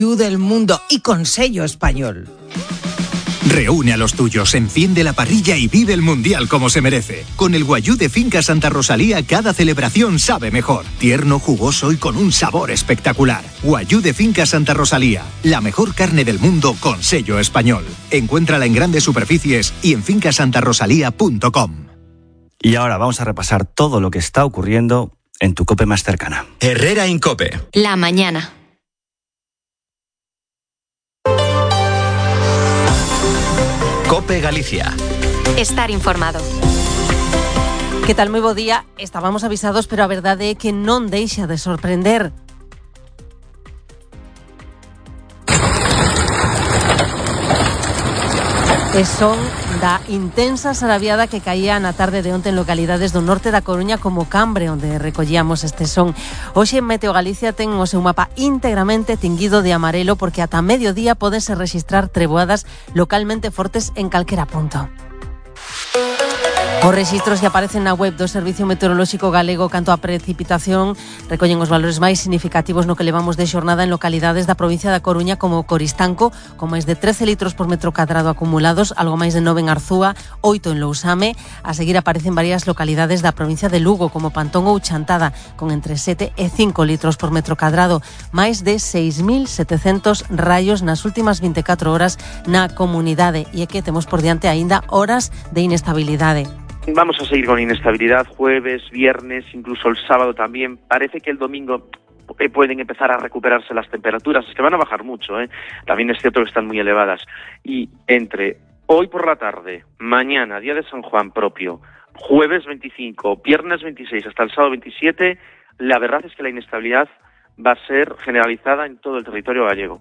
del mundo y con sello español. Reúne a los tuyos, enciende la parrilla y vive el Mundial como se merece. Con el guayú de Finca Santa Rosalía, cada celebración sabe mejor. Tierno, jugoso y con un sabor espectacular. Guayú de Finca Santa Rosalía, la mejor carne del mundo con sello español. Encuéntrala en grandes superficies y en fincasantarosalía.com. Y ahora vamos a repasar todo lo que está ocurriendo en tu COPE más cercana. Herrera Incope. La mañana. COPE Galicia. Estar informado. Que tal, moi bo día. Estábamos avisados, pero a verdade é que non deixa de sorprender. E son da intensa sarabiada que caía na tarde de onte en localidades do norte da Coruña como Cambre, onde recollíamos este son. Hoxe Meteo Galicia ten o seu mapa íntegramente tinguido de amarelo porque ata mediodía podense rexistrar treboadas localmente fortes en calquera punto. Os rexistros que aparecen na web do Servicio Meteorolóxico Galego canto a precipitación recollen os valores máis significativos no que levamos de xornada en localidades da provincia da Coruña como Coristanco, con máis de 13 litros por metro cadrado acumulados, algo máis de 9 en Arzúa, 8 en Lousame. A seguir aparecen varias localidades da provincia de Lugo como Pantón ou Chantada, con entre 7 e 5 litros por metro cadrado, máis de 6.700 raios nas últimas 24 horas na comunidade, e é que temos por diante aínda horas de inestabilidade. Vamos a seguir con inestabilidad jueves, viernes, incluso el sábado también. Parece que el domingo pueden empezar a recuperarse las temperaturas. Es que van a bajar mucho, ¿eh? También es cierto que están muy elevadas. Y entre hoy por la tarde, mañana, día de San Juan propio, jueves 25, viernes 26 hasta el sábado 27, la verdad es que la inestabilidad va a ser generalizada en todo el territorio gallego.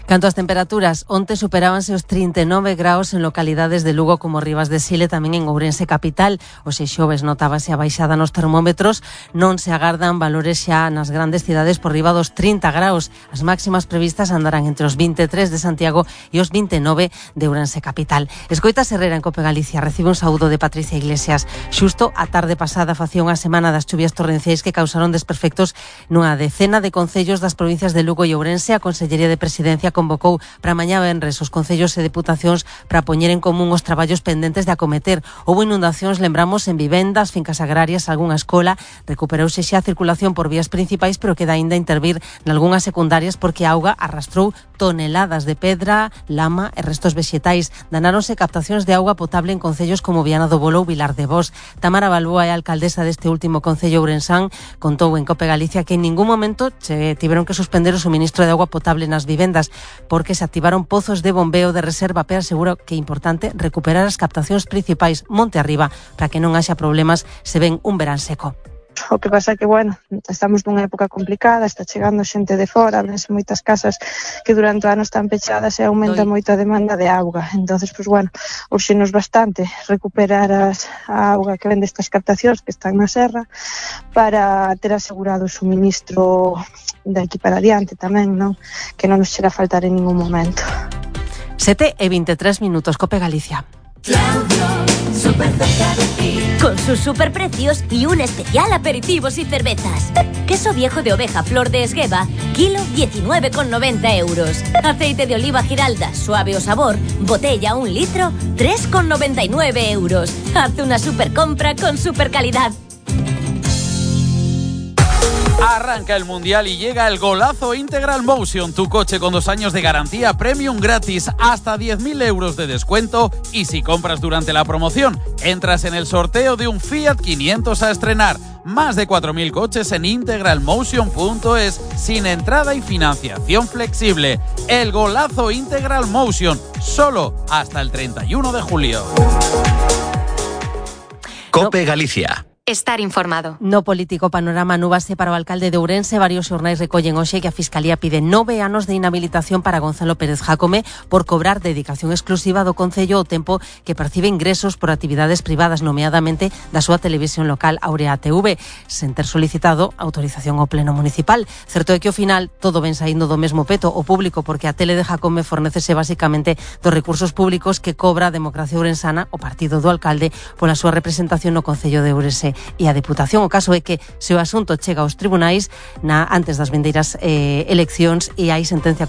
Canto ás temperaturas, onte superábanse os 39 graus en localidades de Lugo como Rivas de Sile, tamén en Ourense capital. Hoxe xoves notábase a baixada nos termómetros, non se agardan valores xa nas grandes cidades por riba dos 30 graus. As máximas previstas andarán entre os 23 de Santiago e os 29 de Ourense capital. Escoitas Herrera en COPE Galicia, recibe un saúdo de Patricia Iglesias. Xusto a tarde pasada facía unha semana das chuvias torrenciais que causaron desperfectos nunha decena de concellos das provincias de Lugo e Ourense. A Consellería de Presidencia convocou para mañá venres os concellos e deputacións para poñer en común os traballos pendentes de acometer. Houbo inundacións, lembramos, en vivendas, fincas agrarias, algunha escola. Recuperouse xa a circulación por vías principais, pero queda aínda intervir nalgunhas secundarias porque a auga arrastrou toneladas de pedra, lama e restos vexetais. Danáronse captacións de auga potable en concellos como Viana do Bolo ou Vilar de Bos. Tamara Balboa é alcaldesa deste último concello ourensán. Contou en COPE Galicia que en ningún momento se tiveron que suspender o suministro de auga potable nas vivendas, porque se activaron pozos de bombeo de reserva, pero aseguro que é importante recuperar as captacións principais monte arriba para que non haxa problemas se ven un verán seco. O que pasa é que, bueno, estamos nunha época complicada, está chegando xente de fora, ves moitas casas que durante o ano están pechadas e aumenta moito a demanda de auga. Entonces, pues bueno, urxenos bastante recuperar a auga que ven destas captacións que están na serra para ter asegurado o suministro de aquí para adiante tamén, non? Que non nos chega a faltar en ningún momento. 7:23, COPE Galicia. Con sus superprecios y un especial aperitivos y cervezas. Queso viejo de oveja Flor de Esgueva, kilo 19,90 euros. Aceite de oliva Giralda, suave o sabor, botella 1 litro, 3,99 euros. Haz una super compra con super calidad. Arranca el Mundial y llega el golazo Integral Motion, tu coche con 2 años de garantía premium gratis, hasta 10.000 euros de descuento, y si compras durante la promoción, entras en el sorteo de un Fiat 500 a estrenar. Más de 4.000 coches en integralmotion.es, sin entrada y financiación flexible. El golazo Integral Motion, solo hasta el 31 de julio. COPE Galicia. Estar informado. No político panorama núbase para o alcalde de Ourense. Varios xornais recollen hoxe que a Fiscalía pide 9 anos de inhabilitación para Gonzalo Pérez Jácome por cobrar dedicación exclusiva do Concello ao tempo que percibe ingresos por actividades privadas, nomeadamente da súa televisión local Aurea TV, sen ter solicitado autorización ao Pleno Municipal. Certo é que ao final todo ven saindo do mesmo peto o público, porque a tele de Jácome fornécese basicamente dos recursos públicos que cobra a Democracia Ourensana, o partido do alcalde, pola súa representación no Concello de Ourense e a Deputación. O caso é que se o asunto chega aos tribunais antes das vindeiras eleccións e hai sentencia